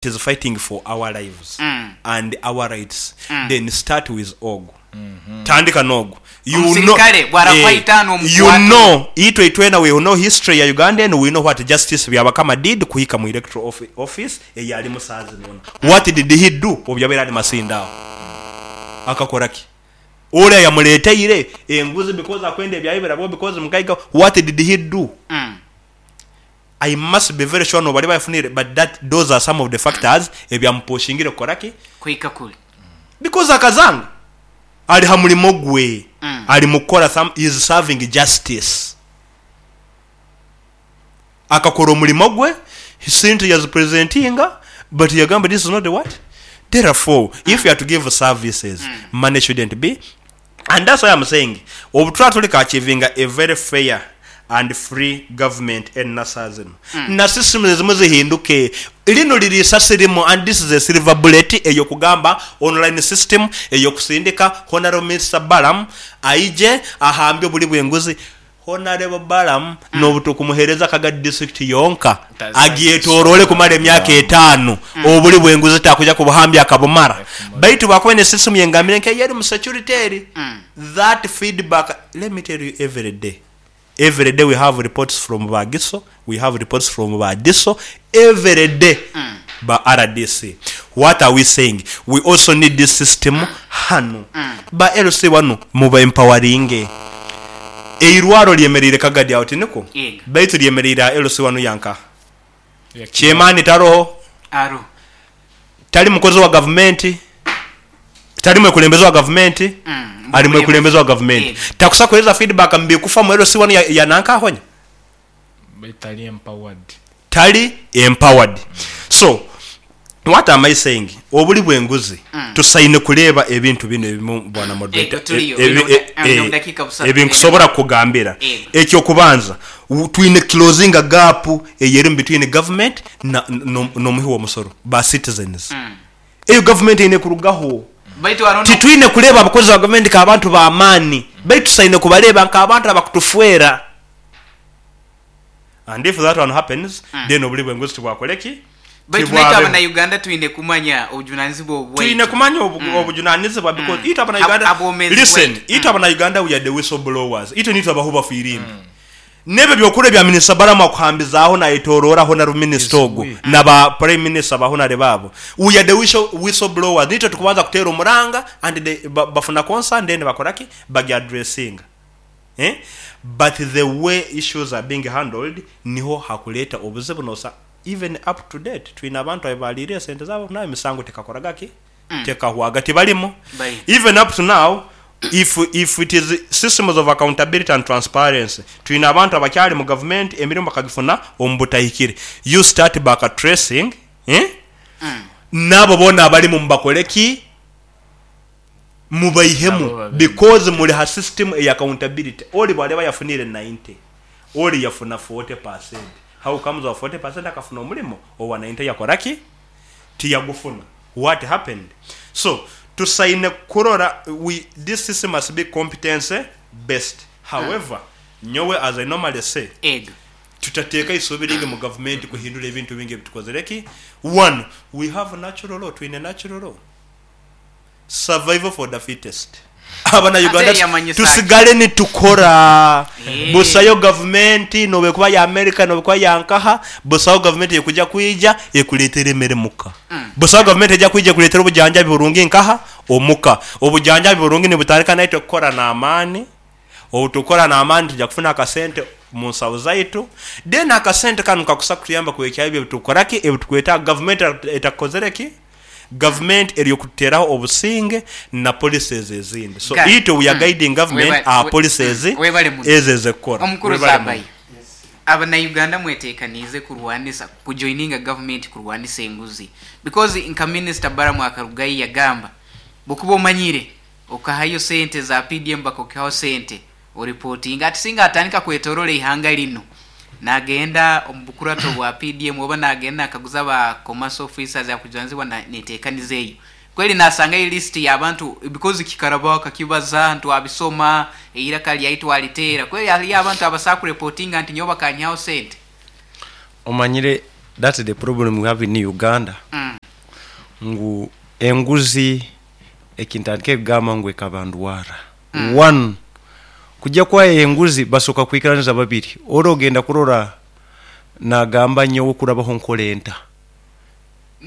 Is fighting for our lives and our rights then start with ogwo tandika nogwo you know Omusirikale bwarakuha eh, itaano you omukwate. know itwe itwena we know history ya Uganda eno we know what Justice Byabakama did kuhika mu electoral offi- office eyalimu saha zino ona what did he do obu yabaire ali Masindi aho akakora ki Ole ayamuleteire enguzi because akwenda ebyaye birabweho because mugaiga what did he do I must be very sure nobali bafunire but that those are some of the factors ebyamupushingire kukora ki? Kuhika kuri. Because akazanga ali ha mulimo gwe ali mukukora some he is serving justice akakora omulimo gwe sente yazipresentinga but yagamba this is not the what therefore if you are to give services money shouldn't be And that's why am saying obutuba tuli ka achievinga a very fair and free government enna saha zino na systems ezimu zihinduke. Lino liri isasi limu and this is a silver bullet eyokugamba online system eyokusindika Honourable Minister Balaam aije ahambye obuli bwenguzi. Honarebo Balaam n'obutukumuhereza Kagadi District yonka agyetoroole kumara emyaka etaanu, obuli bw'enguzi takuja kubuhambya akabumara. Baitu bwakuba aine system yengambire nk'eyeri mu security eri, that feedback, let me tell you every day, every day we have reports from ba GISO, we have reports from ba DISO, every day ba rdc. What are we saying? We also need this system hanu. Ba LC banu muba empoweringe. Eirwaro lyemereire Kagadi aho tinikwo? Yega. Baitu lyemereire aha LC wanu yanka. Chairman taroho. Aroho. Tali mukozi wa gavumenti, tali mwekulembeze wa gavumenti, ali mwekulembeze wa gavumenti. Yega. Takusa kuhereza feedback mubikufa mu LC wanu ya, ya nanka ahonya? Baitu tali empowered. Tali empowered. So what am I saying? Obuli bwenguzi tusaine kureeba ebintu binu ebimu bwana moderator Ego, tuliyo. Omu dakiika busatu. ebi nkusobora kukugambira. Ego. Ekyokubanza twine closinga gap eyerimu between government na n'omuhi w'omusoro ba citizens. Eyo government eine kurugaho. Baitu haro no Titwine kureeba abakozi ba gavumenti nk'abantu b'amaani, baitu tusaine kubareeba nk'abantu abakutufwera. And if that one happens, then obuli bw'enguzi tibwakore ki? Baitu naitwe Tibwabeho. Abanauganda twine kumanya obujunanizibwa Twine obwaitu. kumanya obujunanizibwa because itwe Abanauganda, Abwomeezi listen, bwaitu. itwe Abanauganda we are the whistleblowers. Itwe nitwe abahuba firimbi. N'ebyo by'okura ebya Minisita Balaam akuhambizaaho nayetororaho na Minisita ogwo na ba Prime Minister ba Honare baabo. We are the whistleblowers. Nitwe tukubanza kuteera omuranga and they, bafuna concern then bakora ki? Bagi addressinga. Eh? But the way issues are being handled niho hakureeta obuzibu nosa even up to date twine abantu abaliire esente zaabo nawe emisango tekakoraga ki? Tekahwaga tibarimu. Bari. Even up to now if if it is systems of accountability and transparency twine abantu abakyari mu government emirimo bakagifuna omu butahikire. You start back tracing eh? Nabo boona abarimu mubakore ki? Mubaihemu Nabo babe. because muri ha system eya accountability. Ori bwareba yafunire 90, ori yafuna 40%. How comes wa 40% akafuna omurimo owa 90 yakora ki? Tiyagufuna. What happened? So tusaine kurora we this system must be competence based. However, nyowe as I normally say, Ego. tutateeka eisuubi ringi mu gavumenti kuhindura ebintu bingi ebitukozere ki? One, we have natural law, twine natural law. Survival for the fittest. Abana Uganda Ate yamanyisa ki? tusigale nitukora. Eh. Busayo gavumenti nobekuba ya America nobekuba ya nkaha, busayo gavumenti ekuja kwija ekuleetera emere muka. Busayo gavumenti eja kwija ekuleetera obujanjabi burungi nkaha omuka. Obujanjabi burungi nibutandika naitwe kukora n'amaani. Obu tukora n'amaani tuja kufuna akasente mu nsaho zaitu. Then akasente kanu kakusa kutuyamba kuhikya ebyo ebitukora ki ebitukwetaaga gavumenti etakukozere ki? Gavumenti eri okututeraho obusinge na policies ezindi. So Ga- itwe we are guiding government our policies Webale muno. ezo ezekukora. Omukuru Webale muno. Zabayo. Abanauganda mwetekaniize kurwanisa kujoininga government kurwanisa enguzi because nka Minister Balaam akarugayo yagamba bwokuba omanyire okahayo sente za PDM bakokihaho sente oripotinga ati singa atandika kwetorora ihanga lino nagenda omu bukurato bwa PDM oba nagenda nakaguza ba commerce officers akujwanzibwa na netekaniza eyo kweli nasanga list y'abantu because kikaraba kakibaza ntwabisoma eiraka lyaitu alitera kweli haliyo abantu abasaa kurepotinga nti nyowe bakanyihaho sente. Omanyire That's the problem we have in Uganda. Ngu enguzi ekintandika ekugamba ngu ekaba ndwara. One, kujja kwayo enguzi basoka kwikiraniza babiri. Ori ogenda kurora nagamba nyowe kurabaho nkolenta.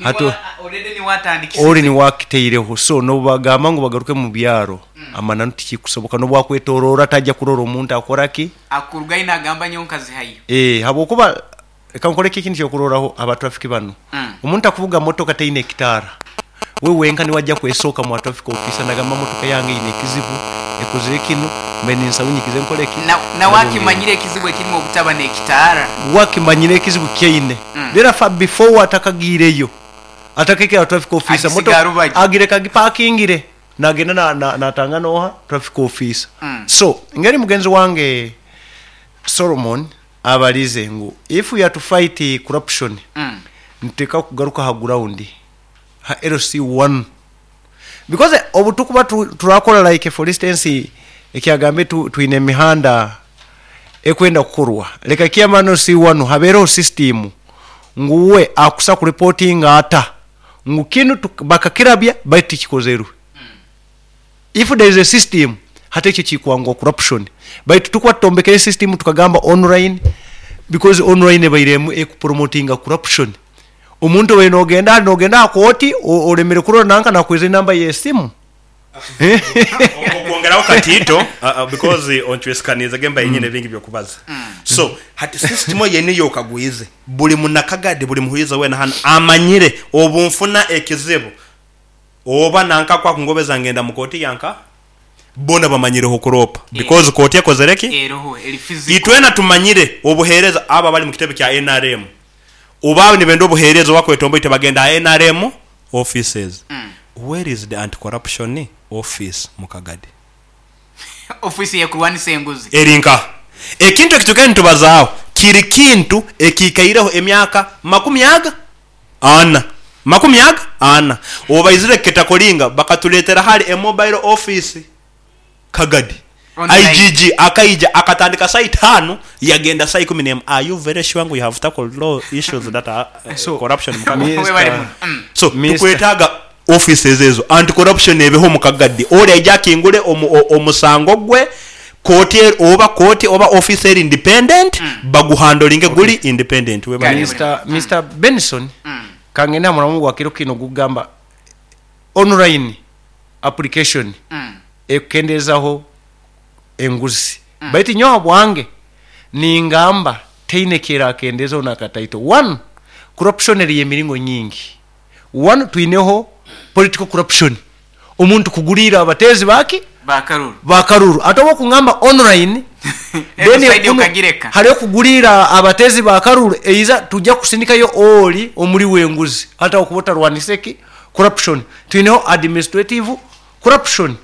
Hato- Already niwatandikisize. Ori niwakiteireho, so nobagamba ngu bagaruke mu byaro, amananu tikikusoboka, nobwakwetorora tajja kurora omuntu akoraki. Akurugayo nagamba nyowe nkazihayo. Habwokuba reka nkoreke ekintu kyokuroraho abatrafiki banu. Omuntu akuvuga motoka teine ekitaara, we wenka niwajja kwesooka mu traffic officer nagamba motoka yange ine ekizibu, ekozire kinu, mbe ninsaba unyikize nkoreki. Nawe akimanyire ekizibu ekirimu obutaba n'ekitaara. Wakimanyire ekizibu kyaine. Therefore before atakagiireyo atakekera traffic officer, Agisiga motoka rubaju. agireka agipakingire nagenda natanga noha traffic officer. So ngeri mugenzi wange Solomon abalize ngu if we are to fight corruption, niteka kugaruka ha ground ha LC1, because obutukuba turakora like for instance ekyagambe twine emihanda ekwenda kukorwa, leka kiamano C1 habereho system nguwe akusa ku reporting ata ngu kinu bakakirabya baitu tikikozerwe. If there is a system hata ekyo kikwangwa corruption, baitu tukuba tutombekere system tukagamba online, because online ebairemu ekupromotinga corruption. Omuntu we nogenda akoti olemere kurora nanka nakweza enamba y'esimu. Okwongeraho katito, because onchwesikanize gemba yenyine bingi byokubaza. So hati system yene yokagwize buli munakagadi buli muhuiza wena hano amanyire obunfuna ekizibu oba nanka kwa kungobeza ngenda mukoti yanka bona bamanyireho kuropa because koti ekozereki eroho eri physical. Itwena tumanyire obuhereza aba bali mu kitebe kya NRM oba nibenda obuhereza wakwetombo ite bagenda NRM offices. Where is the anti-corruption office mukagadi? Office ya kurwanisa enguzi erinka ekintu ekituke ntubazaaho kiri kintu ekikaireho emyaka 40 40. Obaizire ketakolinga bakatuletera hali a mobile office Kagadi. Online. IGG akaija akatandika saa 5 yagenda saa 11. Are you very sure you have tackled law issues that are So, corruption mukagadi? Mr. We bali muno. So Mr. tukwetaaga offices ezo anti-corruption ebeho mukagadi. Oli aija akingule omusango gwe koti oba koti oba office eri independent, baguhandolinge guli independent. We bali. Mr. Benson, kangenda mulamu gwa kiro kino gugamba online application ekukendezaho enguzi. Baitu nyowe bwange ningamba teine kera akendezaho nakataito. One, corruption eri emiringo nyingi. One, twineho political corruption, omuntu kugulira abatezi baki bakaruru bakaruru atobo kungamba online. Then ukagireka hariyo kugulira abatezi bakaruru eiza tujja kusindikayo oli omuli wenguzi hata okubota rwaniseki corruption. Twineho administrative corruption.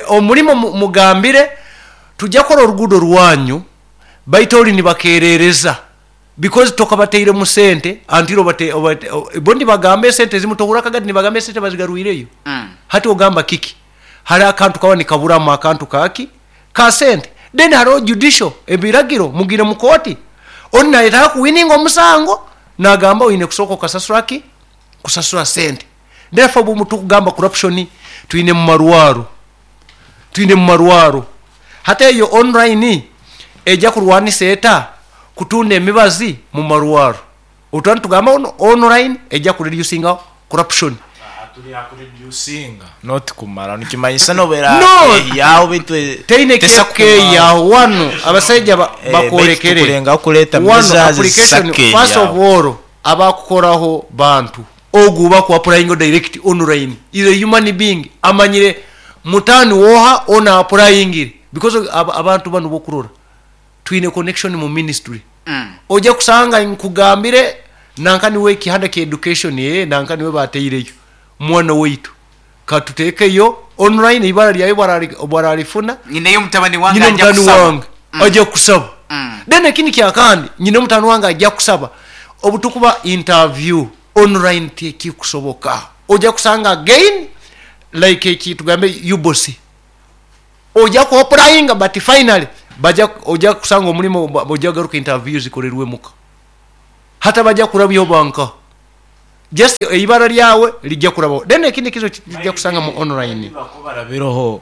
Omulimo mugambire tujja kola oluguudo lwanyu baitu oli nibakerereza because tokabateire mu sente antiro bate bondi bagambe sente zimu tohura kagati nibagambe sente bazigarwireyo. Hati ogamba kiki hari akantu kawa nikaburamu akantu kaki ka sente. Then hariho judicial ebiragiro mugire mu koti oni nayetaka kuwininga omusango nagamba oyine kusooka okasasura ki kusasura sente. Therefore bwe tukugamba corruption twine mu marwaro, twine mu marwaro. Hata eyo online ejja kurwanisa eta kutunda emibazi mu marwaro. Otwani tugamba ono online ejja kureducinga corruption. Kureducinga not kumara nikimanyisa nobera No! yawo bitwe Teine keyaho wano abasajja bakorekere kurenga kuleta wano measures application zisake first of yawo. all abakukoraho bantu ogu baku applying direct online is a human being amanyire mutani woha ona applying because abantu bano bokurora twine connection mu ministry. Ojja kusanga nkugambire nankani we kihanda ke education nankani we bateireyo mwana waitu katutekeyo online ibara lyayo baralifuna nyineyo mutabani wange nyine ajja mutani kusaba. wange ajja kusaba. Then ekindi kyakandi nyine mutani wange ajja kusaba obutukuba interview online tekikusoboka. Ojja kusanga again like ekitugambe UBOS ojja ku applying but finally baja ojja kusanga omulimu ojja garuka interview zikorerwe muka. Hata bajja kurabyaho banka just eibara lyawe lijja kurabaho. Then ekindi kizo kijja kusanga mu online. Barabiroho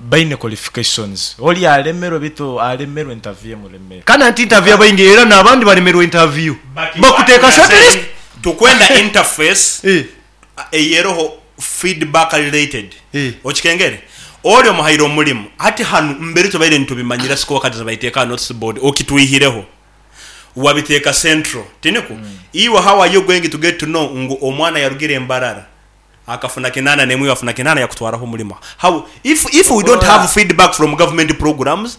baine qualifications, oli alemerwe, bitu alemerwe interview emulemere. Kandi anti interview abaingi era n'abandi balemerwa interview, bakuteeka shortlist. Tukwenda interface eyeroho feedback related. Okikengere oli omuhaire omulimu hati hanu mbere tubaire nitubimanyira siko wakati zabaiteeka notice board, okitwihireho wabiteeka central, tiniku? Iwe, how are you going to get to know ngu omwana yarugire embarara akafuna 81, iwe afuna 8 yakutwaraho omulimu? How if we don't have feedback from government programs,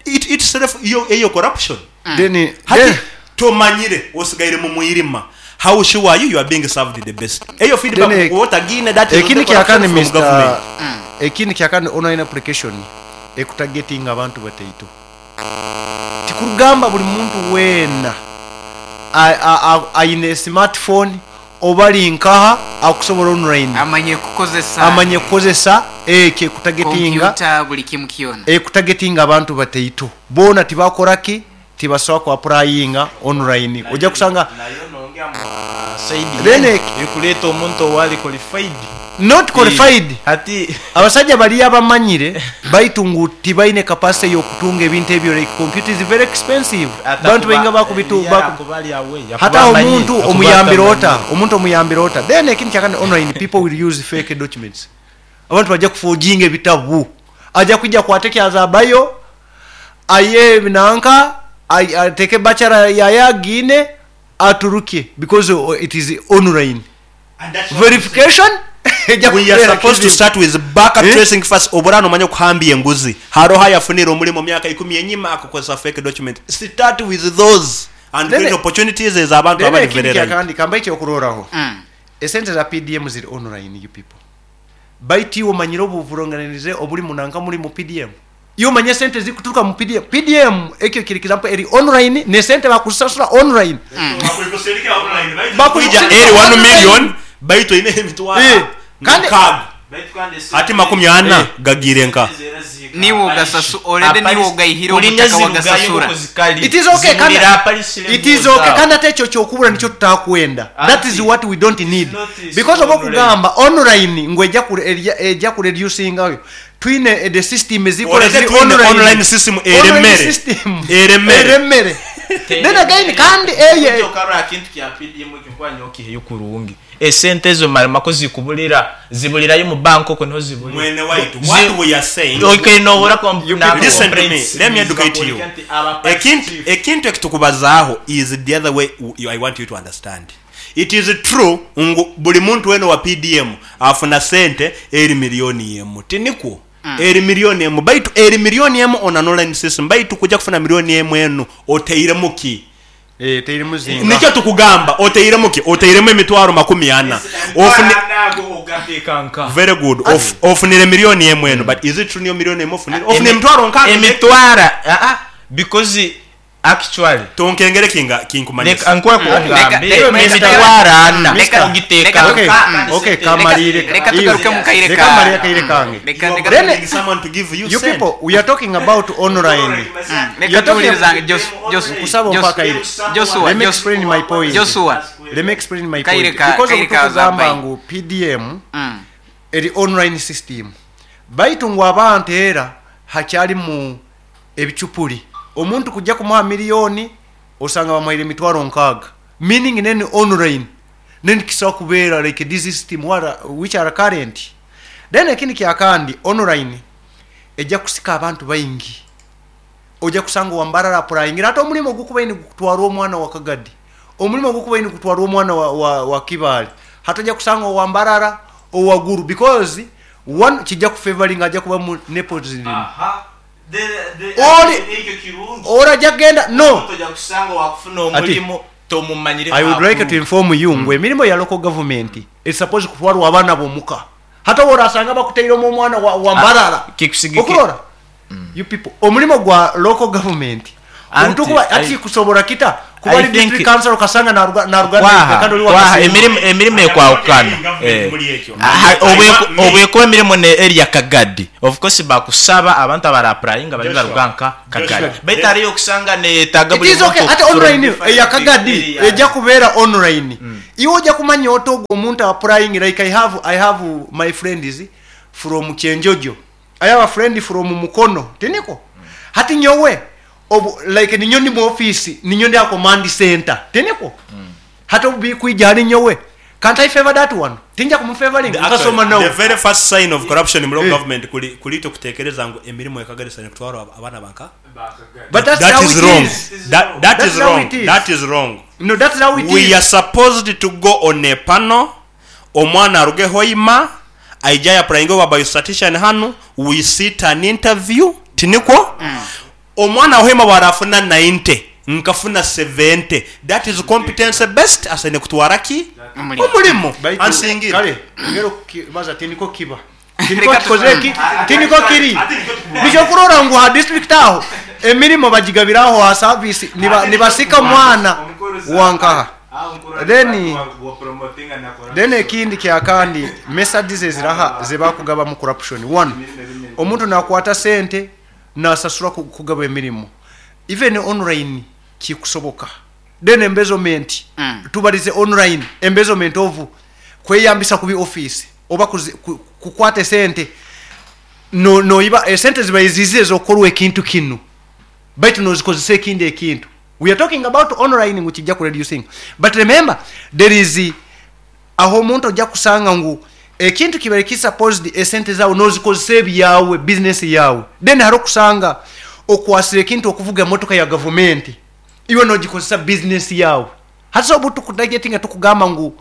it itself iyo eyo corruption. Then Hati then tomanyire, osigaire mu mwirima. How sure are you you are being served the best? Eyo feedback otagine, that is Ekindi the corruption kyakani, from Mr. government. Ekindi kyakani, online application ekutagetinga abantu bataito. Tikurugamba buli muntu weena aine smartphone oba linkaha akusobola online Amanye kukozesa. Amanye kukozesa ekyo ekutagetinga. Kompyuta, buli kimu kyona. Ekutagetinga abantu bataito boona tibakoraki, tibasobola kuapurayinga online. Ojja kusanga Then Ekuleeta omuntu owali qualified. Not qualified. Hati Abasajja bali abamanyire baitu ngu tibaine capacity y'okutunga ebintu ebyo, like computer is very expensive. Bantu bainga bakubitu hata omuntu omuyambira ota, omuntu omuyambira ota? Then ekindi kyakane, online people will use fake documents. Abantu bajja kuforginga ebitabu, ajja kwijja kwate kyazabayo aye nanka ateke bachelor yaye agine aturuke because it is online verification ejja We are kubeera supposed to kizibu. start with backup Eh? tracing first. Oburano omanye okuhambya enguzi, haroho ayafunire omulimu myaka 10 enyima akakozesa fake document. Start with those and Then create opportunities ez'abantu Then abali ekindi very right. kyakandi kamba ekyokuroraho, esente za PDM ziri online. You people, baitu iwe omanyire obuvuronganirize obuli munanka muli mu PDM. Iwe omanye sente zikuturuka mu PDM. PDM ekyo kiri example eri online, nesente bakusasula online. Bakuija eri 1 million, baitu oine emitwaro Kandi- 6 ati 40 gagire nka Niwe already niwe ogayihire obutaka wagasasura. It is okay, kandi it is okay, kandi ate ekyo kyokubura nikyo tutakwenda. That is what we don't need, because oba okugamba online ngu ejja kureducingayo, twine the system ezikola Olete ziri twine online system Online eremere. system. Eremere. Eremere. Then again, kandi eye Akintu kya PDM ekyo kurungi, esente ezo marimako zikubulira, zibulirayo mu banka okwo niho zibulira. Mwene waitu, what we are saying, Okay, nohora listen to me, let me educate you. Ekintu ekitukubazaaho is the other way. I want you to understand, it is true ngu buli muntu wena wa PDM afuna sente eri 1 million, tinikwo? Eri 1 million, baitu eri 1 million on an online system, baitu kujja kufuna 1 million enu oteiremu ki? Nikyo tukugamba, oteiremu ki? Oteiremu emitwaro 40. Ofune very good. Ofunire 1 million eno, but is it true niyo 1 million ofunire? Ofune emitwaro 60. Emitwara because actually Tonkengere kinga kinkumanyisa. Leka nkuwa kugambe emitwaro 40 ogiteeka. Okay, okay, kamalire. Leka tugaruke mu kaire Leka malire kaire kange. Leka Then- Needing someone to give you You cent. people, we are talking about online. Leka You're talking- tuwuliriza Kusaba mpaka ile. Joshua, Let me explain my point. Joshua. Let me explain my Kaire point, because kaire ka obutukugamba zapai. ngu PDM eri online system, baitu ngu abantu era hakyali mu ebicupuli. Omuntu kujja kumuha miliyoni, osanga bamuhaire emitwaro 60, meaning neni online neni kisobola kubeera like this system which are current. Then ekindi kyakandi, online ejja kusika abantu baingi. Ojja kusanga wambarara apurayingira ate omulimu ogukubaini gukutwara omwana wa Kagadi, omulimu ogukubaini gukutwara omwana wa Kibaale, hati ojja kusanga owambarara owaguru, because one kijja kufavoringa, ajja kuba mu nepotism. Ora ajja kugenda no Kusanga wakufuna omulimu tomumanyire. I would like to inform you ngu emirimu ya local government is supposed kutwarwa abaana bomuka. Hata worasanga bakuteiremu omwana wa Mbarara. Okurora, you people, omulimu gwa local government Anti, otukuba ati kusobola kita. Kuba I ali district think council okasanga naruga naruga kwaha kandi oli wa kwaha Kasimba. emirimu ekwawukana. Government muli ekyo. Aha, I want me- obwekuba emirimu ne area Kagadi, of course bakusaba abantu abarapplyinga bali Joshua. baruga nka Kagadi, Joshua. baitu hariyo okusanga neyetaaga It buli is okay muntu ate from online different eya Kagadi areas. ejja kubeera online. Iwe ojja kumanya ota ogwo omuntu applying. Like I have my friends from Kyenjojo, I have a friend from Mukono, tiniko hati nyowe obu, like ninyo ndi mu office, ninyo ndi a command center, tiniko hati obu bikwija ali nyowe. Can't I favor that one? Tinja kumufavoring nkasoma The nawe. very first sign of corruption mu local Eh. government kuli kulito kutekereza ngu emirimu ekageresa nekutwara abaana banka. But that's That how is it wrong. is. That That's is how wrong. it is. That is wrong. No, that's how it We is. are supposed to go on a panel, omwana aruge Hoima aija yapurayinga oba biostatician hanu, we sit an interview, tinikwo omwana Hoima bwarafuna 90 nkafuna 70, that is competence best, asaine kutwara ki Omulimu. omulimu. Baitu, Ansingira. kale ngero baza tiniko kiba tiniko Reka kikoze ki tiniko kiri nikyo kurora ngu ha district aho emirimo bagigabiraho ha service nibasika mwana wankaha. Then ekindi kyakandi methods eziraha zebakugaba mu corruption. One, omuntu nakwata sente nasasura kugaba emirimu even online kikusoboka. Then embezzlement. Tubalize online embezzlement of kweyambisa kubi office oba kukwata esente no noiba esente ziba ezokukorwa ekintu kinu baitu nozikozesa ekindi ekintu. We are talking about online ngu kijja kureducing, but remember there is aho omuntu ojja kusanga ngu ekintu kibaire kisupposed esente zaawe nozikozesa ebyawe business yawe. Then hari okusanga okwasira ekintu okuvuga emotoka ya gavumenti iwe nogikozesa business yawe. Hati obu tukutagetinga tukugamba ngu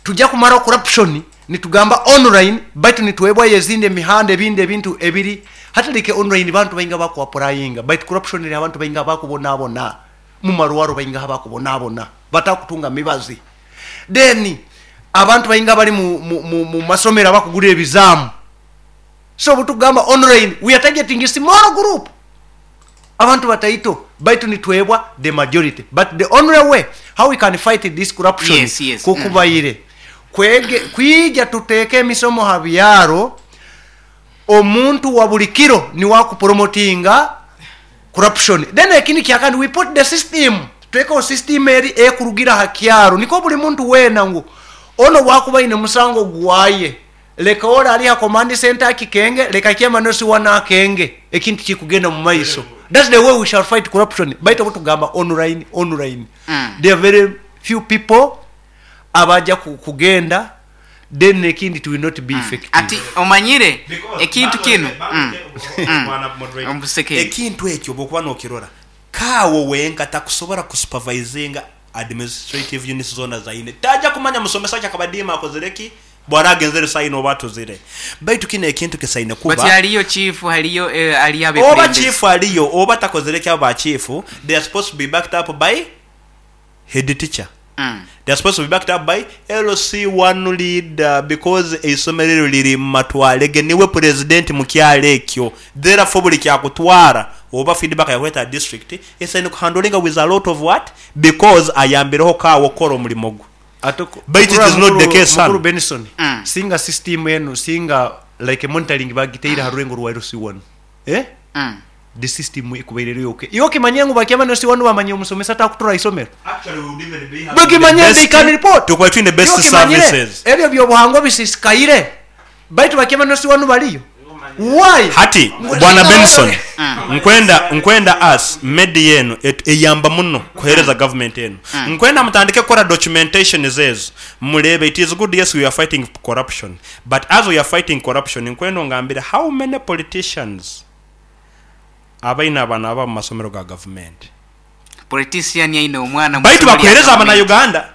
tujja kumara corruption, nitugamba online baitu nituwebwayo ezindi emihanda ebindi ebintu ebiri hati like online bantu bainga bakuapurayinga, baitu corruption eri abantu bainga bakubonabona mu marwaro, bainga bakubonabona batakutunga mibazi. Then abantu bainga bali mu masomero abakugura ebizaamu. So butugamba online we are targeting a small group, abantu bataito, baitu nitwebwa the majority. But the only way how we can fight this corruption, Yes. kukubaire kwege kwija tuteeke emisomo ha byaro, omuntu wa buli kiro niwakupromotinga corruption. Then ekindi kyakandi, we put the system, tuteekeho system eri ekurugira ha kyaro niko buli muntu weena ngu ono bwakuba ine musango gwaye, leka ora ali ha command center akikenge, leka kyema nosiwana akenge ekintu kikugenda mu maiso. That's the way we shall fight corruption. Baitu butugamba online online, there are very few people abaja kugenda. Then ekindi it will not be effective. Ati omanyire ekintu kinu. Omusekeri. Ekintu ekyo bwokuba nokirora kaawo wenka takusobola kusupervisinga administrative units zona zaine, tajja kumanya musomesa kyakabadiima akozereki bwaragenzere saina oba atuzire, baitu kino ekintu kisaine But kuba haliyo chief, haliyo aliyo oba abekulembeze. chief aliyo oba takozereki, abo ba chief they are supposed to be backed up by head teacher. They are supposed to be backed up by LC1 leader because eisomero eryo liri mu matwale ge, niwe president mu kyalo ekyo. Therefore buli kyakutwara oba feedback yakuleta district esaine kuhandlinga with a lot of what, because ayambireho kaawo okukola omulimu gwe. Ate ku- But it is not the case, son. Mukuru Benson, singa system eno singa like monitoring bagiteire ha rurengo rwa LC1, eh? The system ikubaire yoke iyo kimanye ngu bakyama no C1 bamanye omusomesa takutura isomero bakimanye The they best- can report. tukuba twine best Iyo kimanyire, services. ebyo byobuhango bisisikaire baitu bakyama no C1 baliyo why? Hati bwana Benson, nkwenda as medi eno eyamba muno kuhereza government eno, nkwenda mutandike kukora documentation zezo mulebe. It is good, yes, we are fighting corruption, but as we are fighting corruption, nkwenda ongambire how many politicians abaina abaana aba mu masomero ga government. Politician yaine omwana mu Baitu ssomero lya bakuhereza government. abanauganda.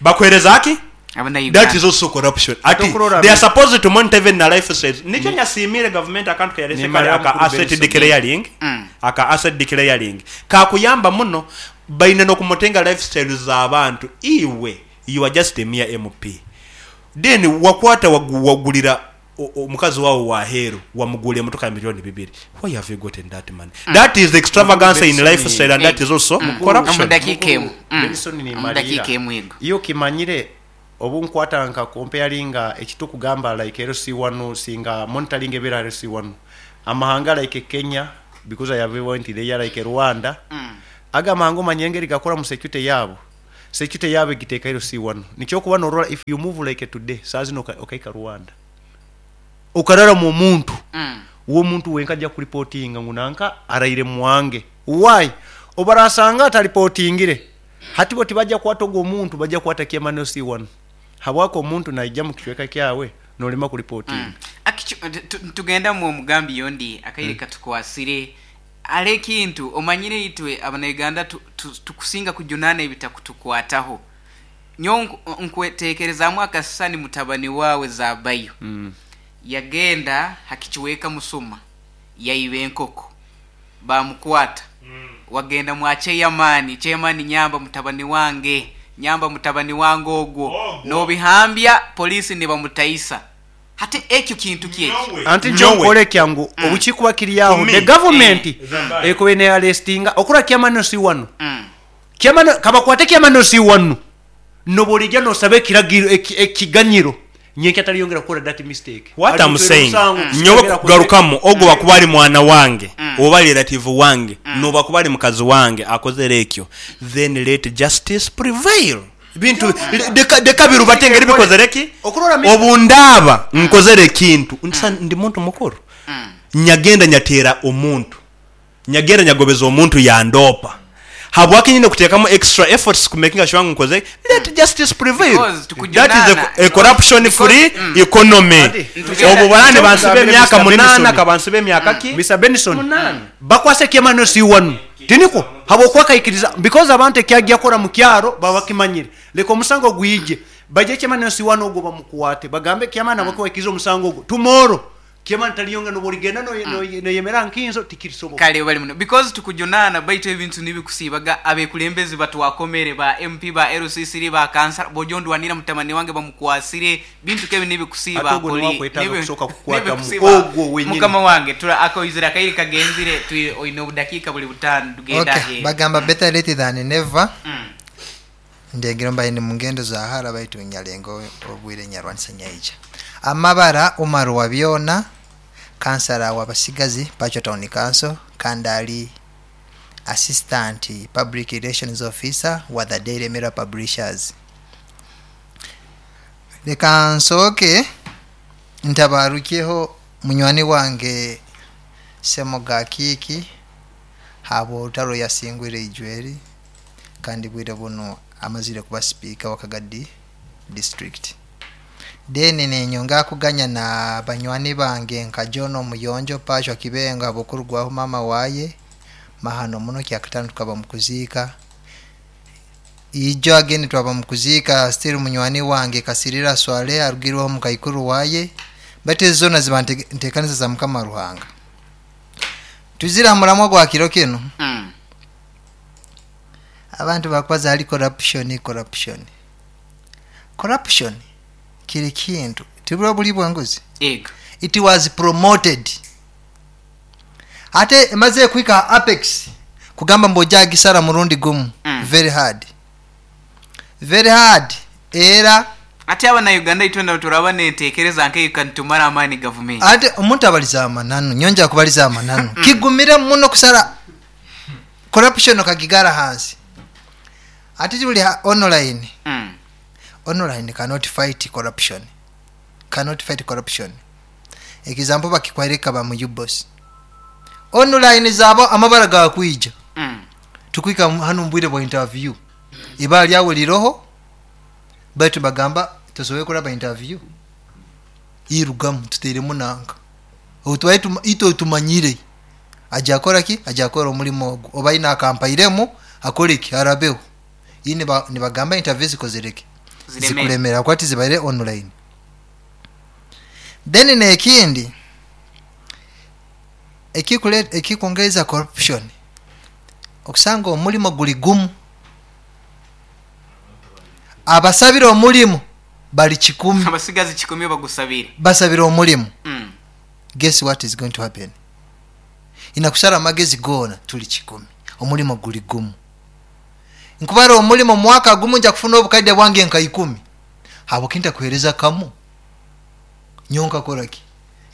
Bakuhereza aki? Abanauganda. That is also corruption. Ati Tokurora they are supposed to monitor even na lifestyles. Nikyo nyasiimire government akantu keyalese Ni kale mara aka mukuru asset Benson. declaring. Aka asset declaring kakuyamba muno, baine n'okumutenga lifestyles z'abantu. Iwe you are just a mere MP, then wakwata wagulira Omukazi wawe waheru wamugula emotoka ya 2 miliyoni. Why have you gotten that money? That is extravagance in lifestyle, and that is also corruption. Omu dakiika emu. Benson ni Omu Malira. dakiika emu ego. Iyo kimanyire obu nkwata nka comparinga ekitukugamba like LC1, singa monitoring ebera LC1 amahanga like Kenya, because I have went there, like Rwanda, aga amahanga omanye engeri gakora mu security yabo. Security yabo egiteeka LC1. Nikyo kuba norora, if you move like today, saa zino okaika Rwanda, okarara mu omuntu, uwo muntu wenka ajja kuripotinga ngu nanka araire mwange. Why? Obarasanga ataripotingire, hati bo tibajja kwata ogwo omuntu, bajja kwata kiamano C1, habwako omuntu naija mu kicweka kyawe nolema kuripotinga. Tugenda mu omugambi yondi akaire katukwasire ale ekintu omanyire itwe abanauganda tukusinga kujunana ebitakutukwataho. Nyo nkwetekerezaamu akasisani mutabani wawe zabayo yagenda hakichiweka musuma, yaiba enkoko, bamukwata. Wagenda mwa chairman, chairman, nyamba mutabani wange, nyamba mutabani wange ogwo. Ogwo. Nobihambya polisi nibamutaisa. Hati ekyo kintu kyekyo. Anti njo kyangu obukikuba kiri aho, To me, the government Zambayo. ekube ne arrestinga okura kiamano C1. Kiamano kabakwate kiamano C1, nobolijja nosabe ekiragiro ekiganyiro nyenke ataliyongera kukola that mistake. What I'm Alitwera saying, omusango, nyowe kusigera kugarukamu, ogwo wakuba ali mwana wange oba relative wange, noba kuba ali mukazi wange akozere ekyo, then let justice prevail. Bintu deka birubate engeri bikozere ki. Okurora Obundaaba nkozere ekintu, nsa ndi muntu mukuru, nyagenda nyateera omuntu, nyagenda nyagobeza omuntu yandopa, habwaki nyine kuteekamu extra efforts ku making sure ngu nkoze? Let justice prevail. Because That is tukujunana. a corruption free economy. Ati, Obwo balani bansiba emyaka Mr. 8, Benson. kabansiba emyaka ki? Mr. Benson, bakwase kiamano C1 tiniko habwokuba kaikiriza, because abantu ekyajja kora mu kyaro baba bakimanyire. Leka omusango gwije, bajje kiamano C1 ogwo bamukwate, bagambe kiamano abakwekiriza omusango ogwo. Tomorrow kiamano taliyonga noboligenda noyemera nkinzo, tikirisoboka. Kale bali muno because tukujunana, baitu ebintu nibikusiibaga abekulembezi batwakomere, ba MP, ba LCC, ba kansala, bojondwanira mutamani wange bamukwasire bintu kebi nibikusiiba. Ate ogwo niwakwetaaga kusooka kukwatamu. Ogwo wenyini. Mukama wange tura akoizira akairi kagenzire oine obudakiika buli 5, tugenda Okay, aheeru. Bagamba better late than never. Ndengero mbaye ni mungendo za hara, baitu nyalengo obwire nyarwanisa nyaija amabara Umar wa byona, kansala wabasigazi Pacho Town Council, kandi ali assistant public relations officer wa the Daily Mirror Publishers. Leka nsooke ntabarukeho munywani wange Semoga Kiki habwa olutalo yasingwire ijweri, kandi bwire buno amazire kuba sipiika wa Kagadi district. Then nenyonga kuganya na banywani bange nka John Omuyonjo Pashwa Kibenga bukurugwaho mama waye mahano muno kyakatano tukaba mukuziika ijo ageni twaba mukuziika. Still munywani wange Kasirira Swale arugirwaho mukaikuru waye, bate zona ziba ntekanisa za Mukama Ruhanga. Tuzira mulamwa gwa kiro kino. Abantu bakwaza ali corruption, corruption, corruption kiri kintu tibula buli bwanguzi. Ego. It was promoted ate emaze kwika apex kugamba mbu gisara murundi gumu. Very hard, very hard era. Ate abanauganda itwenda turaba nentekereza nkeyo kantumara amaani gavumenti. Ate omuntu abaliza amananu, nyonja kubaliza amananu, kigumire muno kusara corruption okagigara hansi. Ate tuli online. Online cannot fight corruption, cannot fight corruption. Example, bakikwereka ba mu UBOS online zabo amabara gakwija. Tukwika hano mbwire bwa interview iba lyawe liroho, baitu bagamba tosoboye kuraba interview irugamu tuteremu nanka otwaye ito tumanyire aja akora ki, aja akora omulimo ogwo oba ina akampairemu akore ki arabeho. Iyi nibagamba interview zikozereke. Ziremere. Zikulemera kwati zibaire online. Then nekindi ekikwongeza corruption, okusanga omulimo guli gumu, abasabira omulimu Bali 100. Abasigazi 100 bagusabire. Basabire omulimu. Guess what is going to happen? Inakusara amagezi gona, tuli 100, omulimu guli gumu. Nkubara omulimu mwaka gumu, nja kufuna obukaide bwange nka 10. Habwoki ntakuhereza kamu nyonka koraki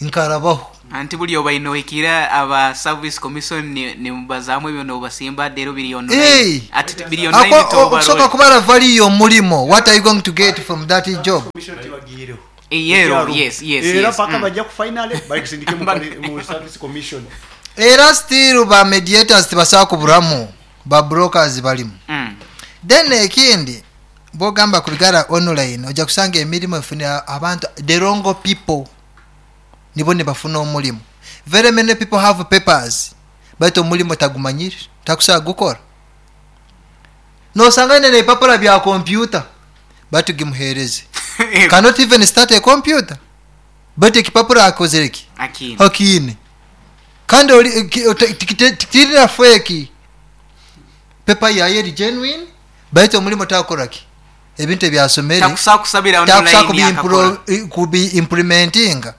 nkarabaho? Anti buli obaine ohikira aba service commission nimubazaamu ebyo nobasimba dero biri online. Hey! Ati biri online. Okusoka kubara value y'omulimo, what are you going to get from that job? Yero, yes. Era paka bajja ku finale bakusindike mu service commission. Era still ba mediators tibasobola kuburamu, ba brokers balimu. Then ekindi bwogamba kubigara online, ojja kusanga emirimu efunira abantu, the wrong people nibo nibafuna omulimu. Very many people have papers, but omulimu tagumanyire, takusobola gukora. Nosanga nene ebipapura bya computer, but gimuhereze, cannot even start a computer, but ekipapura akozere ki? Akini. Akine. Kandi tikirira fake paper yaye eri genuine, baitu omulimu takoraki ebintu ebyasomere. Takusobola kusabira Takusobola online akakora. Kubi implementinga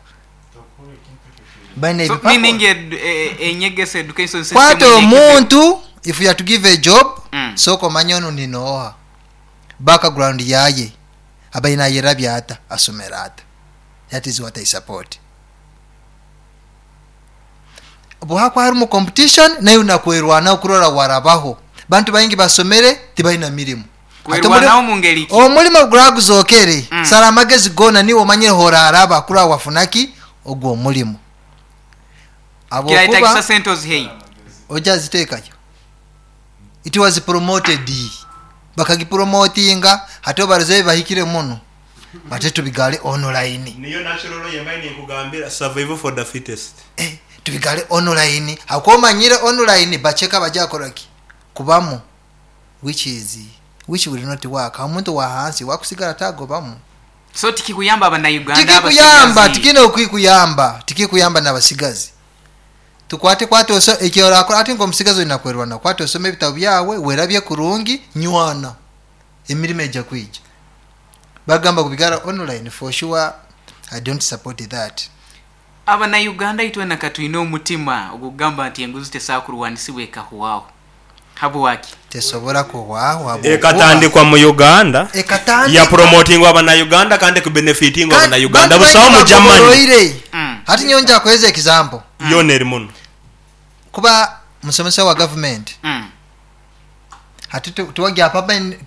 baina So ebipapura. meaning enyegesa education system Kwata ine omuntu, if you are to give a job, sooka omanye ono ninooha, background yaye abaina ayerabya ata, asomera ata. That is what I support. Bwakwa harimu competition, naye unakwerwana okurora warabaho. Bantu baingi basomere tibalina mirimu. Ate Kwerwanaho mu ngeri ki? Omulimo guraguzokere. Sara amagezi gona, niwe omanyire horaraba kurora wafunaki ogwo omulimu. Kirahitagisa Habwokuba sente ozihei. ojja ziteekayo, it was promoted, bakagipromotinga. Hati obaroze bahikire muno, bate tubigale online. Niyo natural yembaye ninkugambira survival for the fittest. Eh, tubigale online, hakuba omanyire online bacheka bajakoraki kubamu, which is which will not work. Omuntu wa hansi wakusigala tagobamu. So tikikuyamba abannayuganda Tikikuyamba. abasigazi. Tikina okwikuyamba, tikikuyamba nabasigazi. Tukwate kwate oso ekyorakora ati ngomusigazi olina kwerwana, kwate osome ebitabo byawe, werabye kurungi, nywana, emirimu ejja kwija. Bagamba kubigara online, for sure I don't support that. Abannayuganda itwena katwine omutima ogugamba nti enguzi tesobola ekahuwaho, habwaki? Tesobora kuhwaho. Ekatandikwa mu Uganda. Ekatandikwa. Yapromotingwa abanauganda kandi kubenefitingwa abanauganda busawo mu Germany. Germany. Hati nyo nja kuweza example. Yona eri muno. Kuba musomesa wa government, hati tuwagya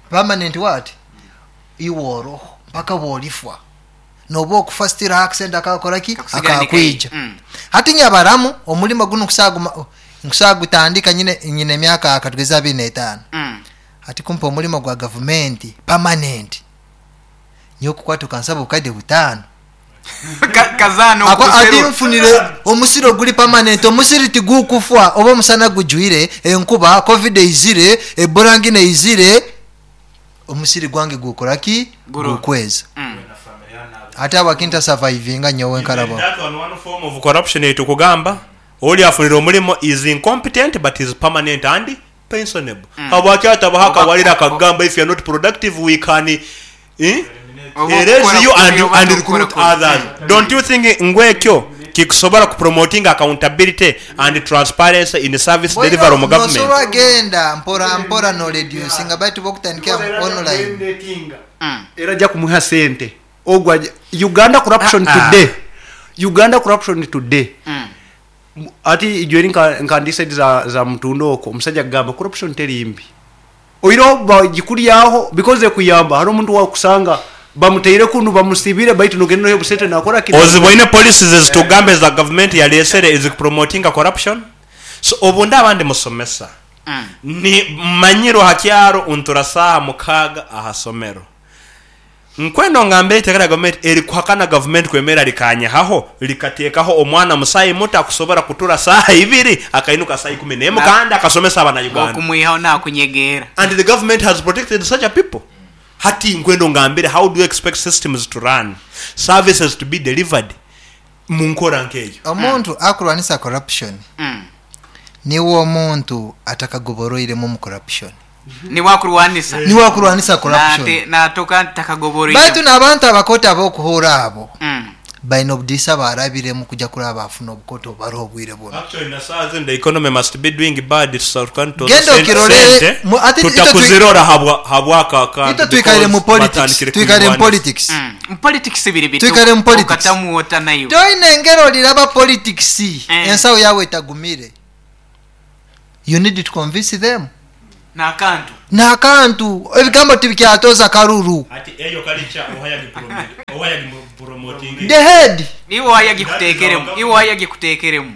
permanent what iworo mpaka wolifwa noba okufa, still accent akakoraki? Kakusigala Akakwija. Hati nyabaramu omulimo guno nkusagutandika nyine emyaka akatugeza 25. Hati kumpa omulimo gwa gavumenti permanent, nyokukwata okansaba obukadde 5. Kazaano. Ati okuserura. nfunire omusiri oguli permanent, omusiri tigukufa oba omusana gujwire, enkuba, COVID eizire, ebola ngine eizire, omusiri gwange gukoraki? Gukweza. Ate abakinta survivinga nyowe nkaraba. That one form of corruption etukugamba oli afunira omulimu is incompetent but is permanent and pensionable. Habwaki atabaho akawalira akagamba if you are not productive we can Oba erase okukola you kubi, oba and tokukola recruit kubi. others? Don't you think ngwekyo kikusobola kupromoting accountability and transparency in service delivery mu government? Nosobola genda mpora mpora no reducinga, baitu bokutandikira online. Era ajja kumuha sente ogwo Uganda corruption today, Uganda corruption today. Ati ijo eri nka ndi side za mutundo okwo, omusajja agamba corruption teri mbi, oireho bagikuryaho because ekuyamba. Hari omuntu wakusanga bamuteire kunu bamusibire, baitu nogenda noyo busente nakora kino. Oziboine policies ezitugamba eza government yalesere ezikupromotinga corruption. So obundi abandi musomesa ni manyiro hakyaro untura saha 6 ahasomero nkwendo ngambire iteka lya gavumenti erikuhakana gavumenti kwemera likanyahaho likateekaho omwana musayi muto akusobora kutura saha 2 akainuka saha 11 kandi akasomesa abanauganda. Okumwihaho nakunyegeera. And the government has protected such a people. Hati nkwendo ngambire, how do you expect systems to run, services to be delivered mu nkora nkeyo? Omuntu akurwanisa corruption niwe omuntu atakagoboroiremu mu corruption. Niwakurwanisa. Niwe akurwanisa corruption. Natoka takagobora. Baitu n'abantu abakoto abokuhura abo baine obudiisa barabiremu kujja kuraba bafuna obukoto obubariho obwire buno. Actually, na saa zino the economy must be doing bad. Genda okirorere, ate itwe Tutakuzirora habwako akantu Itwe twikaire mu because politics, batandikire twikaire mu kuyirwanisa. politics. Mu politics biri bitu. Twikaire mu politics. Okatamu wota nayo. Toine engeri oliraba politics ensawo yawe etagumire. You need to convince them. N'akantu. N'akantu ebigambo tibikyatoza karuru. Ati eyo culture ohaya promoting. The head. Iwe wayagikutekeremu. Iwe wayagikutekeremu.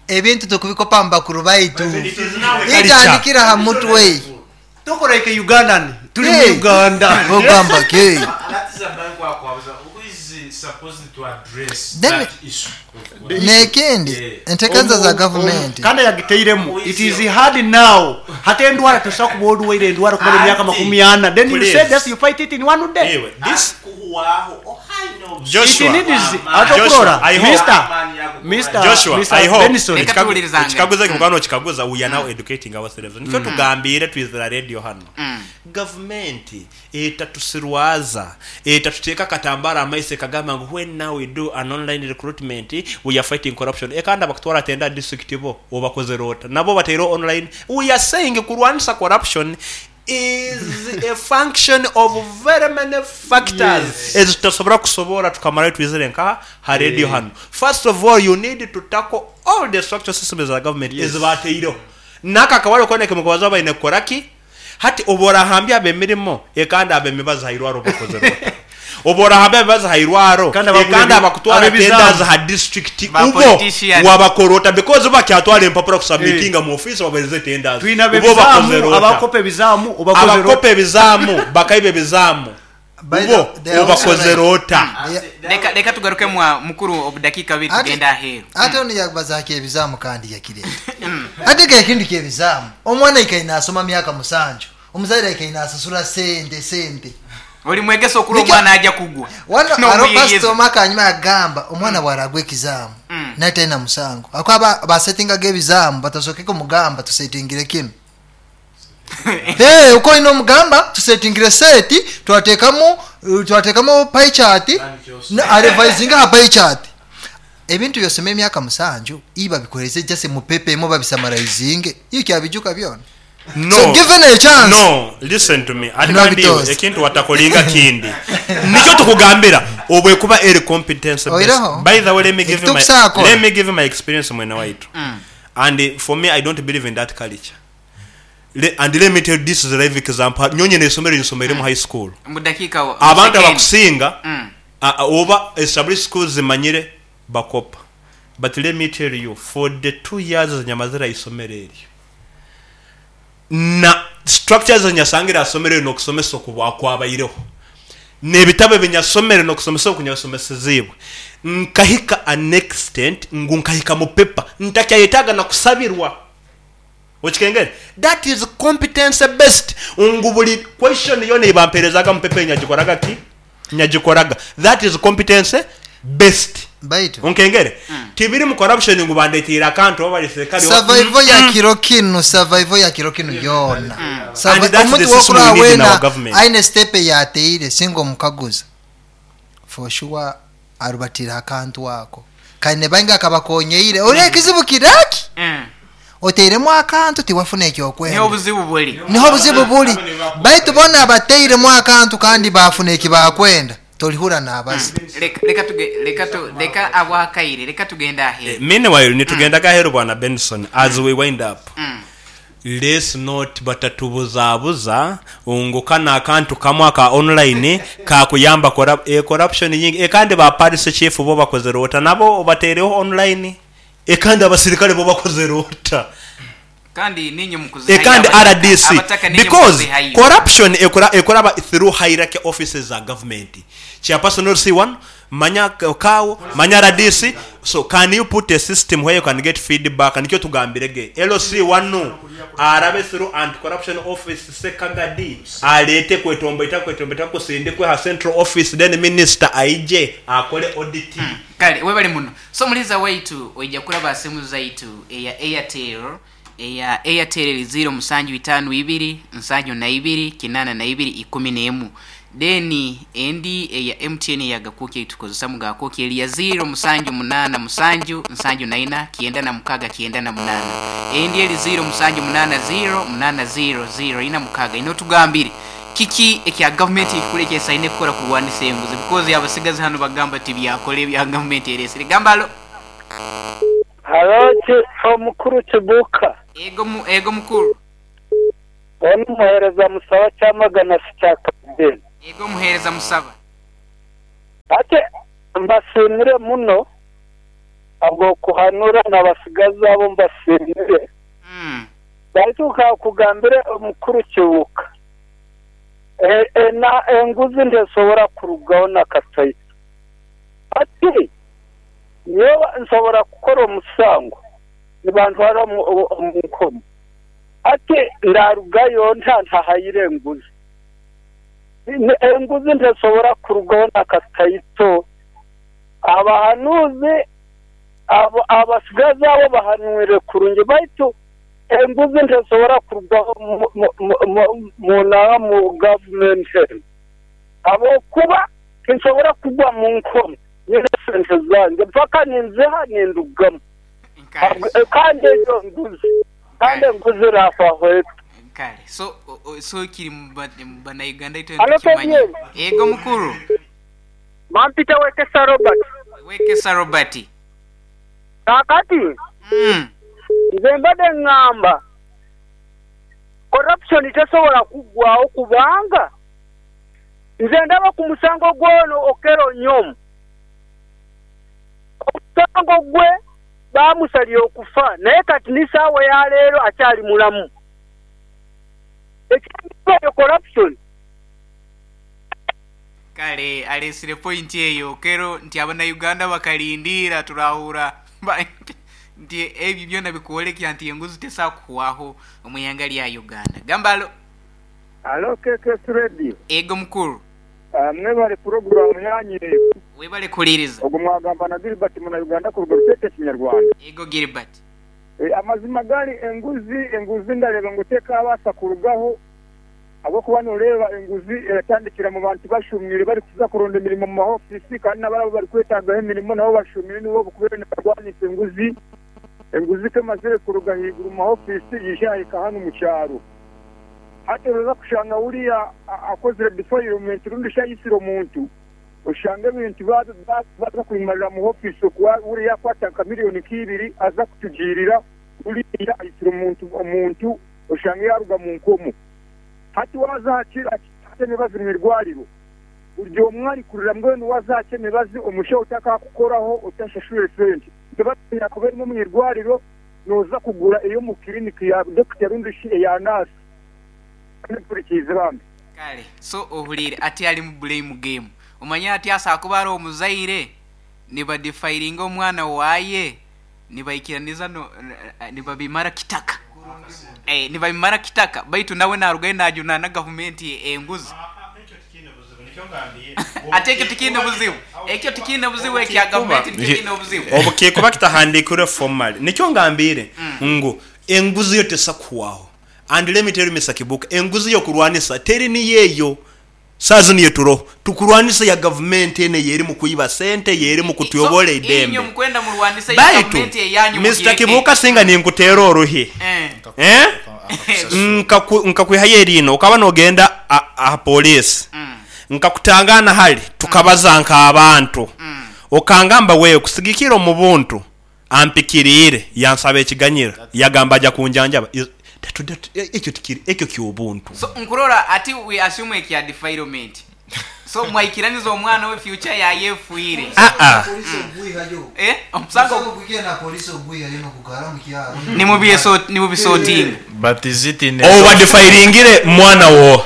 Ebintu tukubikopa mu bakuru baitu. It is now a culture. Itandikira ha mutwe. Tokora ike Ugandan tuli mu Hey. Uganda. Ogamba ke. That is a bank wakwabuza who is supposed to address Then- that issue. N'ekindi Yeah. entekanza za gavumenti. Kandi yagiteiremu it is hard now hata endwara tosobola kuba olwaire endwara kumara emyaka Ati. 40, then you Please. say just you fight it in one day. Anyway, this Kuhuwaho ohaino. Joshua, It needs Joshua, atokurora I hope- Mr. Mr. Joshua, Mr. I hope Benson. Reka tuwulirizange. ekikaguzo ekyo mukano okikaguza, we are now educating ourselves. Nikyo tugambire twizira radio hano. Gavumenti etatusirwaza, etatuteeka akatambara amaiso ekagamba ngu when now we do an online recruitment we are fighting corruption. Ekandi abakutwara tenda district bo obakozere ota nabo bateire online. We are saying kurwanisa corruption is a function of very many factors ezitasobora kusobora tukamara twizire nka ha radio hano. First of all, you need to tackle all the structural systems za government ezibateireho naka akawale koneke mukubaza baine kukoraki hati oborahambya abemirimo ekandi abemibazi hairwaro bakozere ota oborahambya abebazi hairwaro Kandi abagura ekandi abakutwara abebizamu. tenders ha district Ba ubo politician. wabakorota because bakyatwala empapura kusubmitinga mu office babereze tenders Twina ubo bakozere bebizamu ota abakopa ebizamu obakozere abakopa ebizaamu bakaiba ebizaamu By ubo the- they are also obakozere right. ota. Reka reka tugaruke mwa mukuru obudakiika bibiri tugenda aheeru. Ate ono yabazaako ebizaamu kandi yakireeta ate ke ekintu kyebizaamu omwana ikaine asoma myaka 7 omuzaire ikaine asasula sente sente. Oli mwegesa okula Nikyo- omwana ajja kugwa. Wano aro N'omuyeyeza. pasitoma kanyuma yagamba omwana bwaragwa ekizaamu naye talina musango akuba basetingaga ebizaamu batasokeko mugamba tusetingire kino. Hey, uko olina omugamba tusetingire seti twatekamu pie chart arevisinga ha pie chart ebintu byosoma emyaka 7 iba bikoreze just mupepemo babisamaraizinge iyo kyabijuka byona. No. So given a chance. No, listen to me. Ati No, kandi bitozi. ekintu watakolinga kindi nikyo tukugambira obwekuba eri competence based. Oireho? By the way, let me give you my, Ekitukusaako. let me give you my experience mwene waitu. And for me, I don't believe in that culture. And let me tell you, this is a live example. Nyonye nesomero nsomere mu high school. Mu dakiika mu Abantu second. abakusinga oba established schools zimanyire bakopa, but let me tell you, for the 2 years zenyamazira isomero eryo na structures zenyasangira asomero eryo n'okusomesa okukwabaireho n'ebitabo ebinyasomere n'okusomesa okunyasomesezibwe nkahika an extent ngu nkahika mu pepa ntakyayetaaga na kusabirwa. Okikengere, that is competence based, ngu buli question yona ebamperezaga mu pepa nyagikoraga ki nyagikoraga. That is competence based. Baitu onkengere tibiri mu corruption ngu bandetiire akantu oba bali serikali survival ya kiro kinu, survival ya kiro kinu yona. And that's Omuntu the system wokura we need in our wena government. aine step yateire singa omukaguza for sure arubatira akantu ako kaine bainga akabakonyeire ori ekizibu kiraki oteiremu akantu tiwafuna Niho ekyokwenda. obuzibu buli. Niho obuzibu buli, baitu bona abateiremu akantu kandi bafuna ekibakwenda tolihura n'abazi. Reka reka tuge reka tu reka abwakaire reka tugenda aheeru. Meanwhile nitugendaga aheru bwana Benson, as we wind up, let's not batatubuzabuza ngu kano akantu kamwe aka online kakuyamba corruption nyingi. Ekandi ba parish chief bo bakozere ota nabo batereho online? Ekandi abasirikale bo bakozere ota? Kandi ninye mukuzihayo. Ekandi RDC abataka ninye because mukuzihayo. Corruption ekoraba through hierarchy offices za government, chairperson LC1, manya kawo, manya RDC. So can you put a system where you can get feedback? Nikyo tugambirege LC1 arabe through anti corruption office sekagadi alete kwetomboita kwetomboita kusindikwe ha central office, then minister aije akole audit. Kale webale muno. So muliza waitu oija kulaba simu zaitu eya Airtel. Eya Airtel eri 0 7 5 2 72 82 11. Then endi eya MTN eya Gakoki eitukozesa mu Gakoki eri ya 0 7 8 7 74 96 98. Endi eri 0 7 8 0 8 0 0 4 6. Ino tugambire kiki ekya gavumenti ekikuru ekyesaine kukora kurwanisa enguzi, because abasigazi hano bagamba tibyakora ebya gavumenti eresire. Gamba alo. Halo omukuru Kibuuka. Ego ego mukuru. Onu muhereza Musaba Kyamagana si kya Kalideni. Ego muhereza Musaba. Ate mbasiimire muno habw'okuhanura n'abasigazi abo mbasiimire. Baitu kakugambire omukuru Kibuuka. Na enguzi ntesobora kurugaho nakataito. Ati nyowe nsobora kukora omusango nibantwara omu nkomo. Ati ndarugayo ntahayire enguzi. Enguzi ntesobora kurugaho nakataito. Abahanuzi abasigazi abo bahanwire kurungi baitu enguzi ntesobora kurugaho mu gavumenti. Abokuba tinsobora kugwa mu nkomo nyine sente zange mpaka ninziha nindugamu. Kandi ejo nguzi kandi nguzi rafaho. Kale so so kiri mu bana Uganda ito kimanye. Ego mukuru. Mampita Wekesa Robert. Wekesa Robert. Kakati. Nze mbadde ŋŋamba corruption tesobola kuggwawo kubanga nze ndaba ku musango gw'ono Okello Onyum. Omusango gwe baamusalira okufa naye kati ni ssaawa ya leero akyali mulamu. Ekyandibadde corruption. Kale alesire point eyo Okello nti abana Uganda bakalindira turahura nti ebyo byona bikuolekya nti enguzi tesakuhwaho omuyanga lya Uganda. Gambalo. Alo KKS Radio. Ego mukuru. Mwebale program yanyu. Webale kuliriza. Ogwo mwagamba na Gilbert muna Uganda kuruga Rutete Kinyarwanda. Ego Gilbert. Amazima gali enguzi ndareba ngu tekabasa kurugaho agokuba noreba enguzi eratandikira mu bantu bashumire bari kuza kuronda emirimo mu mahofisi kandi n'abarabo bari kwetagaho emirimo nabo bashumire nibo bukubere barwanisa enguzi. Enguzi kemazire kuruga higuru mu mahofisi yishahika hano mu cyaro. Hati roza kushanga uriya akozire defilement rundi shayisiro omuntu ushanga ebintu baza kuyimarira mu ofisi kuwa uriya kwataka miliyoni kibiri aza kutugirira uriya ayisiro omuntu ushanga yaruga mu nkomo. Hati waza hakira emibazi mu irwariro buryo umwari kurira mbwenu waza emibazi omushaho utakakukoraho utashashure sente ntibatina kuba mu irwariro noza kugura iyo mu clinic ya Dr. Rundi ya nurse. Kale so ohulire ati ali mu blame game. Omanya ati asa kuba ari omuzaire nibadefiringa omwana waye nibaikiraniza no nibabimara kitaka. Nibabimara kitaka baitu nawe narugaye najuna na government enguzi. Ate ekyo tikine buzibu. Ekyo tikine buzibu ekya government tikine obuzibu. Obukikuba kitahandikire formally. Nikyo ngambire ngu enguzi yo tesakuwaho. And let me tell you Mr. Kibuka, enguzi yo kurwanisa teri ni yeyo sazi niyo turo tukurwanisa ya government ene yeri mu kuiba sente yeri mu kutuyobora idembe. Inyo mukwenda murwanisa ya government yanyu. Mr. Kibuka singa ni nkutera oruhi. Nkakwiha yerino ukaba nogenda a police. Nkakutangana hali tukabaza nka abantu. Okangamba wewe kusigikira mu buntu ampikirire yansaba ekiganyira yagamba aja kunjanjaba. Ekyo tikiri ekyo kyobuntu. So nkurora ati we assume ekya defilement. So mwaikiraniza omwana we future ya yefuire. Omusango kugenda na police ogwiha yino kugara mu kyaro. Ni mubisoting. But is it in over defiringire mwana wo.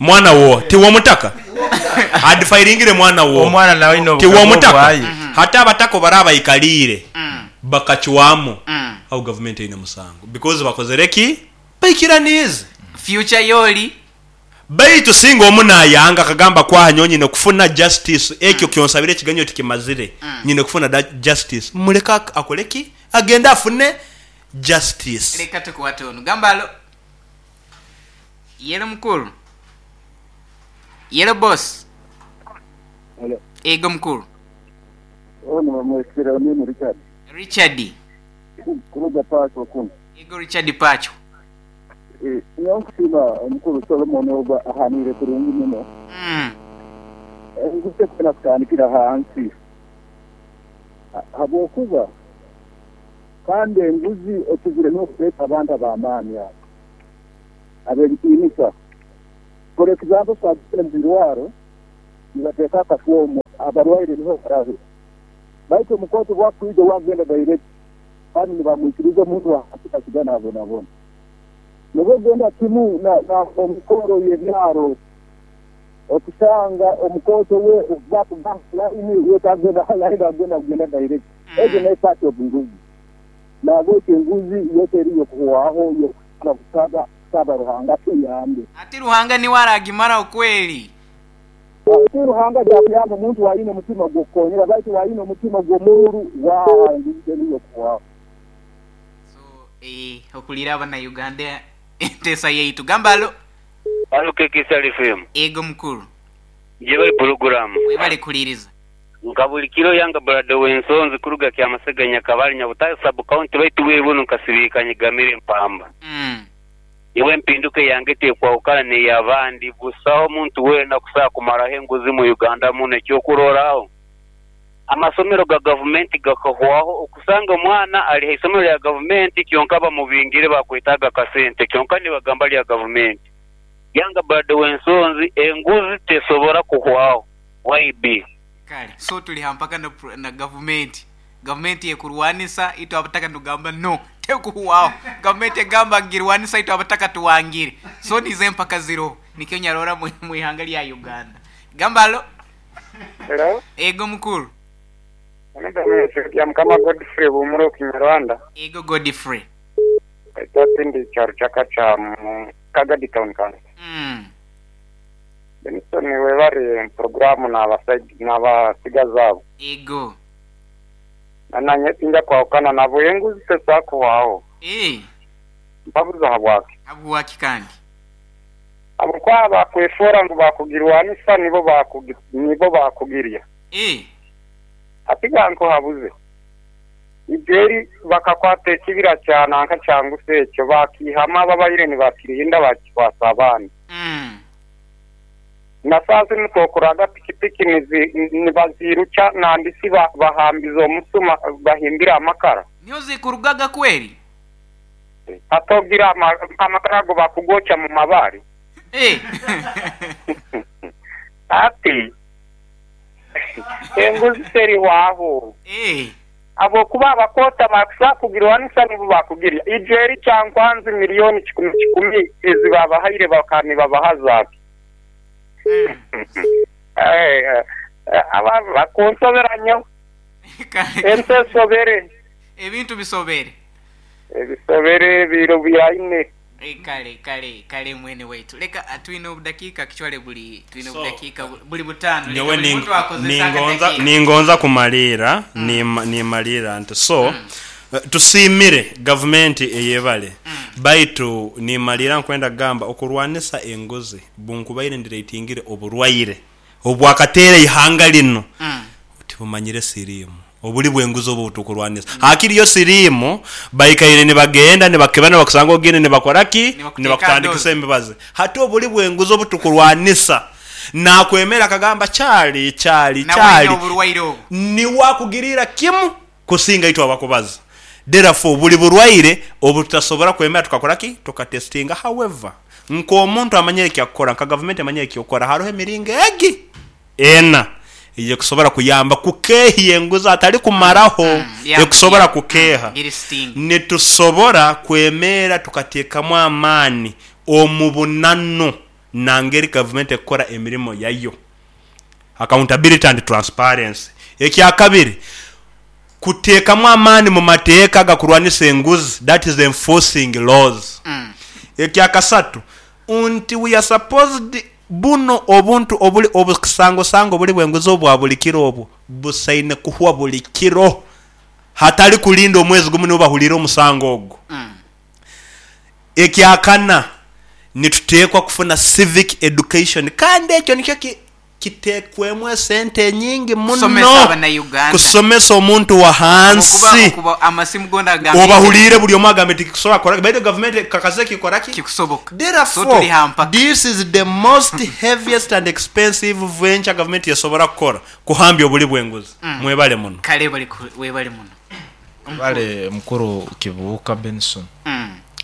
Mwana wo ti womutaka. Adefairingire mwana wo. Omwana nawe ino ti womutaka. Hata abatako baraba ikalire. Bakachiwamu. Au government ina musango because bakozereki baikiranize future yoli baitu singa omuna yanga kagamba kwa nyonyi ne kufuna justice ekyo kyonsabire kiganyo tikimazire nyine kufuna justice muleka akoleki agenda afune Justice. Leka tukwate onu. Gamba alo. Yelo mukuru. Yelo boss. Hello. Ego mukuru. Ono bamwesera mimi Richard. Richard. Kuruga Pacho kuno. Ego Richard Pacho. Eh, nyokusima omukuru Solomon oba ahanire kurungi muno. Enguse kwena kutandikira hansi. Habwokuba kandi enguzi ekizire n'okuleeta abantu ab'amaani abo ab'ebitiinisa. For example, twagenda mu birwaro nibateeka akafoomu abarwaire nibo barabe, baitu omukooti bwakwija wagenda direct kandi nibamwikiriza omuntu wansi kasigana abonabona. Nibwo ogenda kimu na omukoro y'ebyaro okusanga omukooto we bakuba line we tagenda line agenda kugenda direct. Egyo nayo part of nguzi. Nabwekyo enguzi yo teri yokuhwaho yokusaba kusaba kusaba Ruhanga tuyambe. Ati Ruhanga niwe aragimara okweli. Ati Ruhanga yakuyamba omuntu wayine omutima gw'okukonyera, baitu wayine omutima gw'omururu wa enguzi teri yokuhwaho. So okulira abana Uganda enteesa yaitu. Gamba alo. Alo KK FM. Ego mukuru. Jebali program. Webale kuliriza. Nka buli kiro yanga brother w'ensonzi kuruga kya Masega Nyakabali Nyabutare sub county baitu bwire buno nkasibikanye gamire mpamba. Iwe mpinduke yange tekwahukana n'eyabandi busaho omuntu weena kusobola kumaraho enguzi mu Uganda muno. Ekyokuroraho amasomero ga gavumenti gakahwaho, okusanga omwana ali ha isomero lya gavumenti kyonka bamubingire bakwetaaga akasente kyonka nibagamba lya gavumenti. Yanga brother w'ensonzi enguzi tesobora kuhwaho. YB. Kale so tuli hampaka na gavumenti. Gavumenti yekurwanisa itwe abataka nugamba no tekuhwaho. Gavumenti egamba ngirwanisa itwe abataka tuwangire. So nize empaka ziro nikyo nyarora mu ihanga lya Uganda. Gamba alo. Hello. Ego mukuru. Ya mukama Godfrey Bumuro Kinyarwanda. Ego Godfrey. Ekyo kyaro kyakacha mu Kagadi Town Council. Benson webare programu n'abasigazi abo. Ego. Nanye tinja kwahukana nabo enguzi tezakuhwaho. Mpabuza habwaki. Habwaki kandi? Habwokuba bakwefora ngu bakugirwanisa nibo bakugirya. Atiga nko habuze. Ijeri bakakwata ekibira kya nanka kyanguse ekyo bakihama babaire nibakirinda bakikwasa abaana. Na sasa nitwokuraga pikipiki nibaziruca nandisi bahambiza omusuma bahimbira amakara. Niyo zikurugaga kweri? Atogira amakara ago bakugocha mu mabari. Ati enguzi terihwaho. Abo kuba abakota bakusa kugirwanisa nibo bakugirya. Ijeri kyankwanzi milioni 10 ezi babahaire bakani babahazaaki. Aba bakunsobera nnyo. Ensi esobere. Ebintu bisobere. Ebisobere biro byaine. Kale kale kale mwene waitu. Leka twine obudakika kichwale buli twine obudakika buli butano. Nyowe ningonza kumalira nimalira nti so tusimire gavumenti eyebale. Baitu nimalira nkwenda gamba okurwanisa enguzi bunkubaire ndireitingire oburwaire obwakateera ihanga lino. Tibumanyire sirimu obuli bwenguzi obu tukurwanisa. Hakiri yo sirimu baikaire nibagenda nibakebana bakusanga ogende nibakoraki nibakutandikisa emibazi. Hati obuli bwenguzi obu tukurwanisa nakwemera akagamba kyali kyali kyali niwakugirira kimu kusinga itwe abakubaza. Therefore buli burwaire obutasobora kwemera tukakoraki tukatestinga. However nko omuntu amanyire kyakukora nka government amanyire kyokora hariho emiringo egi ena ekusobora kuyamba kukeeha enguzi atali kumaraho ekusobora kukeeha. Nitusobora kwemera tukateekamu amaani omu bunano nangeri government ekukora emirimo yayo. Accountability and transparency. Ekyakabiri kuteekamu amaani mu mateeka gakurwanisa enguzi, that is enforcing laws. Ekyakasatu nti we are supposed buno obuntu obuli obusangosango buli bwenguzi obwa buli kiro obwo busaine kuhwa buli kiro. Hatali kulinda omwezi gumu nibo bahulire omusango ogwo. Ekyakana, nituteekwa kufuna civic education kandi ekyo nikyo kiteekwemu esente enyingi Kusomesa muno Abannayuganda. kusomesa omuntu wa Habwokuba hansi. okuba amasimu goona agamba Obahuliire buli omu agambe tikikusobola kukora baitu gavumenti kakase kikora ki? Kikusoboka. So Therefore, tuli ha mpaka. this is the most heaviest and expensive venture gavumenti esobora kukora, kuhambya obuli bw'enguzi. Mwebale muno. Kale webale muno. Webale mukuru Kibuuka Benson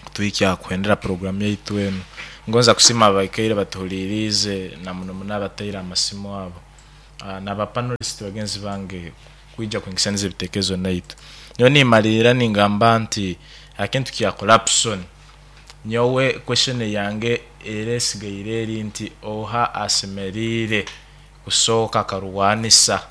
kutuhikya kuhendera program yaitu enu. Ngonza kusiima abaikaire batuhuliriize na muno muno abataire amasimu abo naba panelist bagenzi bange kwija kwingisaniza ebitekerezo naitwe. Nyowe nimaliira ningamba nti akintu kya corruption nyowe question yange era esigaire eri nti oha asemeriire kusooka akarwanisa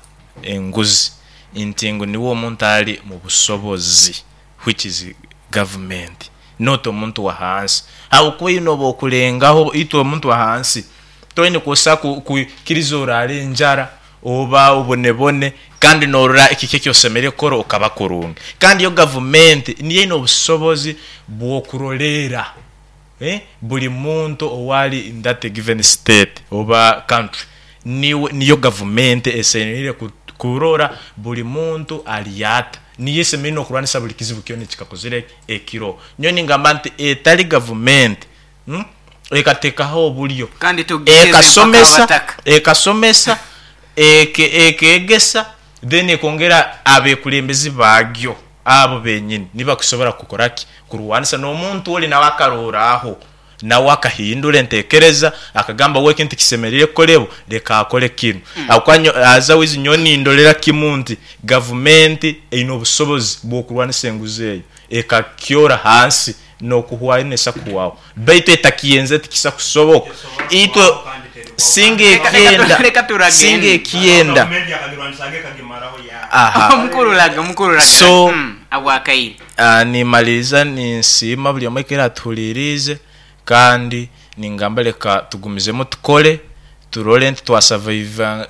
enguzi nti ngu niwe omuntu ali mubusobozi which is government not omuntu wahansi habwokuba oine obwokulengaho itwe omuntu wahansi toine kwosa kwikiriza orare enjara oba obonebone kandi norora kiki ekyosemeriire kukora okaba kurungi kandi yo gavumenti niyo eine obusobozi bwokuroleera buli muntu owali in that given state oba country niyo gavumenti esemeriire kurora buli muntu ali ata niyo esemeriire nokurwanisa buli kizibu kyona ekikakozire ki ekiroho. Nyowe ningamba nti etali gavumenti ekatekaho obulyo Kandi tugeze mpaka abataka. ekasomesa, ekegesa then ekongera abekulembezi bagyo abo benyini nibo bakusobora kukora ki? Kurwanisa nomuntu oli nawe akaroraho nawe akahindura entekereza akagamba we ekintu tikisemeriire kukolebwa leka akole kinu. Habwokuba nyowe otherwise nyowe nindolera kimu nti gavumenti eine obusobozi bwokurwanisa enguzi eyo ekakyora hansi nokuhwayo nesa kuhwaho baitu etakiyenzere tikisa kusoboka itwe singa ekyenda singa ekyenda aha Omukuru laga omukuru laga so abwakaire. Nimaliriza ninsiima buli omwe aikaire atuhuliriize kandi ningamba leka tugumizemu tukole turole nti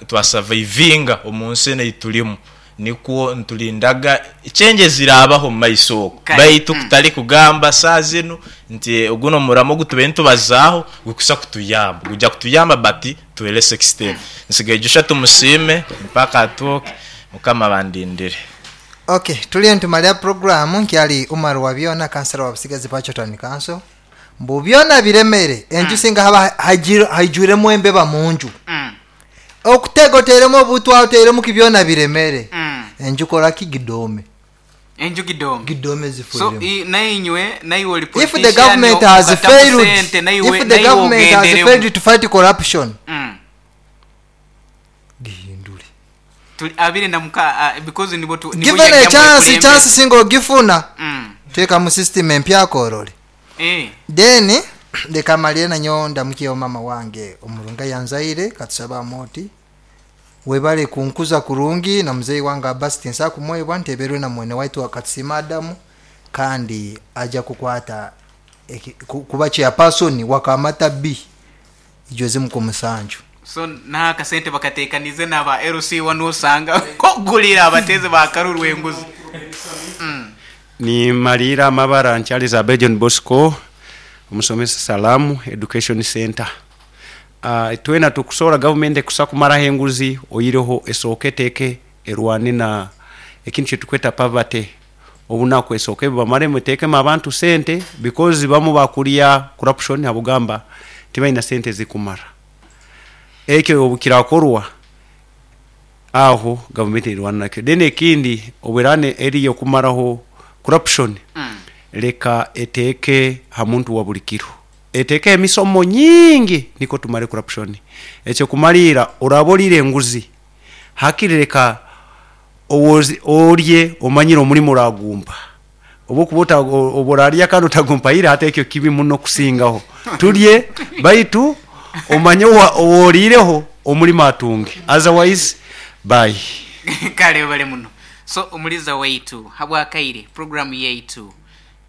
twasavaivinga omunsi enu eyitulimu nikwo nitulindaga changes zirabaho omumaiso oku Kale. baitu kutali kugamba saaha zinu nti gunu omuramo ogutubaire nitubazaaho gukusa kutuyamba gujja kutuyamba but to a less extent. Nsigaire Joshua Tumusiime mpaka atwoke mukama abandindire. Ok tuliyo nitumalira puroguramu nkyali Umar Wabyona kansala wa Busigazi Pacho Town Council mbu byona biremere enju singa haba haijwiremu embeba munju okutega oteremu obutwa oteremu ki byona biremere enju koraki gidome. Enju gidome. Gidome So zifuiremu. nainywe naiwe oli If the politician government has okatamu failed, sente naiwe if the naiwe government has ogenderemu. failed to fight corruption, gihindure. Tuli abiri na muka because nibo tu nibo Given a yajja chance, mwekulembera. chance singa ogifuna, teeka mu system empya akorore. Then leka malire nanyo ndamukiyeho mama wange omurunga yanzaire katusaba amoti webale kunkuza kurungi na muzei wange Abbas tinsa kumwebwa nteberwe na mwene waitu akatusima Adamu kandi aja kukwata kuba chairperson wakamata B ijoze muko musanju. So na akasente bakatekanize naba LC wano osanga kogulira abateze bakarurwa enguzi. Ni malira amabara nkyaliza John Bosco omusomesa Salamu Education Center. Twena tukusobola gavumenti ekusa kumaraho enguzi oyireho esooke eteeke erwane na ekintu kyetukweta poverty obunaku esooke bamaremu eteekemu abantu sente because bamu bakulya corruption habugamba tibalina sente zikumara. Ekyo obukirakorwa aho gavumenti erwana nakyo. Then ekindi obwerane eriyo kumaraho corruption leka eteeke ha muntu wa buli kiro eteeke emisomo nyingi niko tumare corruption. Ekyo kumalira oraba orire enguzi hakiri leka orye omanyire omulimu oragumpa oba okuba oba orarya kandi otagumpaire hati ekyo kibi muno kusingaho. Turye baitu omanye oworiireho omulimu atunge, otherwise bye. Kale bale muno. So omuliza waitu habwakaire program yaitu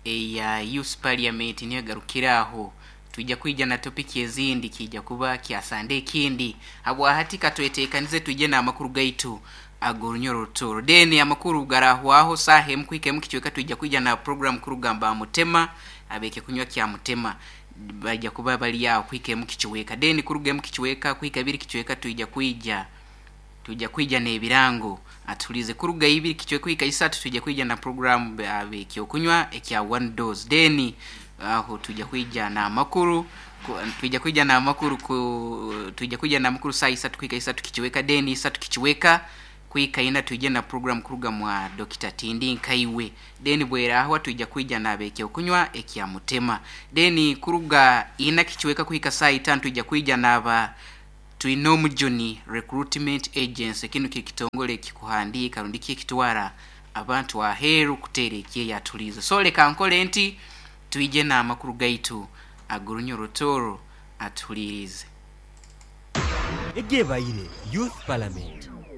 eya Youth Parliament niyo egarukiraho. Twija kwija na topiki ezindi kiija kuba kya Sande ekindi. Habwahati katwetekanize twije n'amakuru gaitu ag'orunyoro Rutooro. Then amakuru garahwaho saaha emu kuhika emu kicweka twija kwija na program kuruga mba Mutema ab'ekyokunywa kya Mutema baija kuba bali aho kuhika emu kicweka. Then kuruga emu kicweka kuhika ibiri kicweka twija kwija Twija kwija n'ebirango. Atuhuliize kuruga ibiri kicweka kuhika isatu twija kwija na puroguraamu ab'ekyokunywa ekya One Dose. Then aho twija kwija n'amakuru twija kwija n'amakuru ku twija kwija n'amakuru saaha isatu kuhika isatu kicweka then isatu kicweka kuhika ina twije na puroguraamu kuruga mwa Dokita Tindi Nkaiwe. Then bwerahwa twija kwija n'ab'ekyokunywa ekya Mutema. Then kuruga ina kicweka kuhika saaha itano twija kwija n'aba Twinomujuni Recruitment Agency, kinu kiri kitongole ekikuhandiika rundi ki ekitwara abantu aheeru kuteera ekyeyo atuliize. So leka nkole nti twije n'amakuru gaitu ag'orunya Orutooro atuhuliiriize. Egebaire Youth Parliament.